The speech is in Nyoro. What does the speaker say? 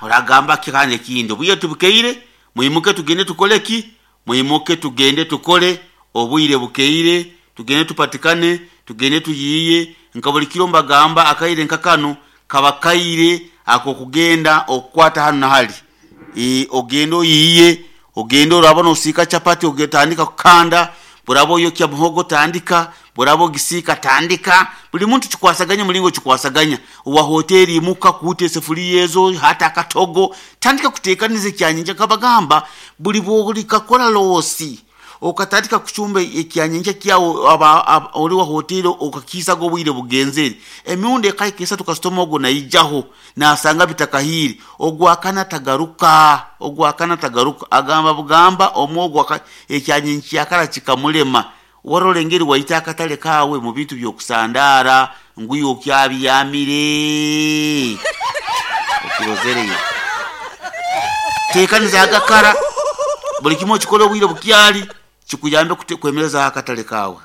Oragamba ki kandi ekindi? Obwire tibukeire, mwimuke tugende tukole ki? Mwimuke tugende tukole, obwire bukeire, tugende tupatikane, tugende tuyiiye. Nka buli kiro mbagamba akaire nka kanu kaba kaire ak'okugenda okukwata hanu na hali. Ogende oyiiye, ogende oraaba noosiika chapati otandika kukanda, bworaaba oyokya muhogo tandika, bworaaba ogisiika tandika. Buli muntu kikwasaganye mulingo kikwasaganya. Owa hoteeri imuka kuuta esefuliya ezo, hata akatogo, tandika kuteekaniza ekyanyenkya. Nkabagamba buli bwolikakora loosi okatandika kucumba ekyanyenkya kyawe ori wa hoteeri okakiisaga obwire bugenzere, emirundi ekahika esatu kasitoma ogu naijaho naasanga bitakahiire, ogwakana tagaruka, ogwakana tagaruka. Agamba bugamba omwogo ekyanyenkya kara kikamulema. Warora engeri waita akatale kaawe mu bintu by'okusandaara ngu iwe okyabyamire. Okirozereyo. Teekaniza agakara, buli kimu okikole obwire bukyali, kikuyambe kwemerezaho akatale kaawe.